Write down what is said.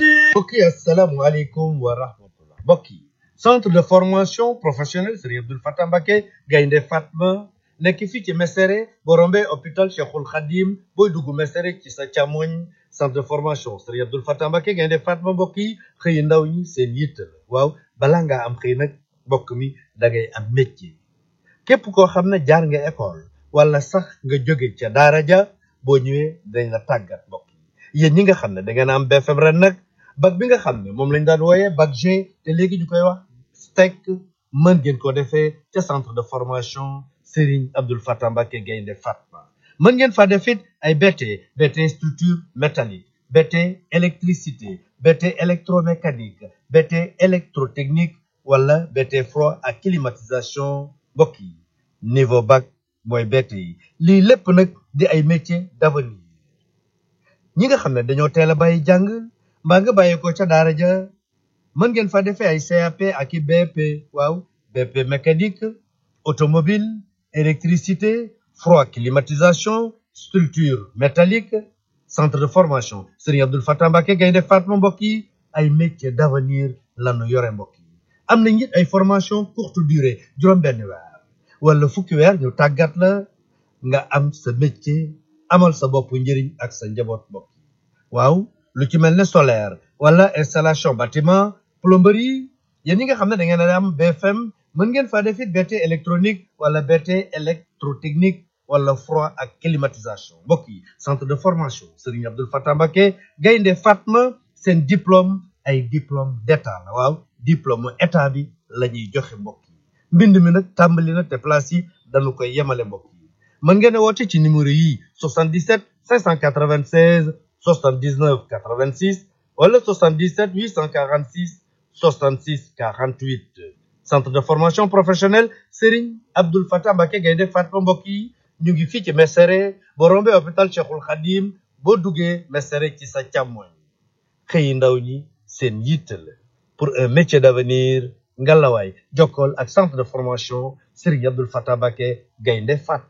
mbokk yi asalaamaaleykum wa rahmatullah. mbokk yi centre de formation professionnelle Serigne Abdoul Fatah Mbacké Gaynde Fatma nekk fii ci Mesere boo rombee hôpital Cheikhul Khadim booy dugg Mesere ci sa càmmoñ centre de formation Serigne Abdoul Fatah Mbacké Gaynde Fatma. mbokk yi xëy ndaw ñi seen yitt la waaw balaa ngaa am xëy nag mbokk mi da ngay am métier. képp koo xam ne jaar nga école wala sax nga jóge ca daara ja boo ñëwee dañ la tàggat mbokk yi. yéen ñi nga xam ne da ngeen am BFM ren nag bac bi nga xam ne moom lañ daan wooyee bac G te léegi ñu koy wax STEC mën ngeen ko defee ca centre de formation Serigne Abdoul Fatah Mbacké Gaynde Fatma. mën ngeen fa def it ay BT structure métallique, BT électricité, BT électromécanique, BT électrotechnique wala BT froid ak climatisation. mbokk yi niveau bac mooy BT yi lii lépp nag di ay métiers d'avenir. ñi nga xam ne dañoo teel a bàyyi jàng mbaa nga bàyyi ko ca daara ja mën ngeen fa defee ay CAP ak i BP. waaw BP mécanique, automobile, électricité, froid, climatisation, structure métallique. centre de formation Serigne Abdoul Fatah Mbacké Gaynde Fatma. mbokk yi ay métiers d'avenir lanu yore mbokk yi. am na it ay formation courte durée juróom-benn weer wala fukki weer ñu tàggat la nga am sa métier amal sa bopp njëriñ ak sa njaboot mbokk yi. waaw lu ci mel ne solaire wala installation bâtiment, plomberie. yéen ñi nga xam ne da ngeen a am BFM mën ngeen faa def it BT électronique wala BT électrotechnique wala froid ak climatisation. mbokk yi centre de formation Serigne Abdoul Fatah Mbacké Gaynde Fatma seen diplôme ay diplôme d'état la. waaw diplôme état bi la ñuy joxe mbokk yi. mbind mi nag tàmbali na te place yi dañu koy yemale mbokk yi. mën ngeen a woote ci numéro yi 77 596 79 86 wala 77 846 66 48. centre de formation professionnelle Serigne Abdoul Fatah Mbacké Gaynde Fatma. mbokk yi ñu ngi fii ci Mesere boo rombee hôpital Cheikhul Khadim boo duggee Mesere ci sa càmmoñ. xëyi ndaw ñi seen yitte la pour un métier d'avenir ngalawaay jokkool ak centre de formation Serigne Abdoul Fatah Mbacké Gaynde Fatma.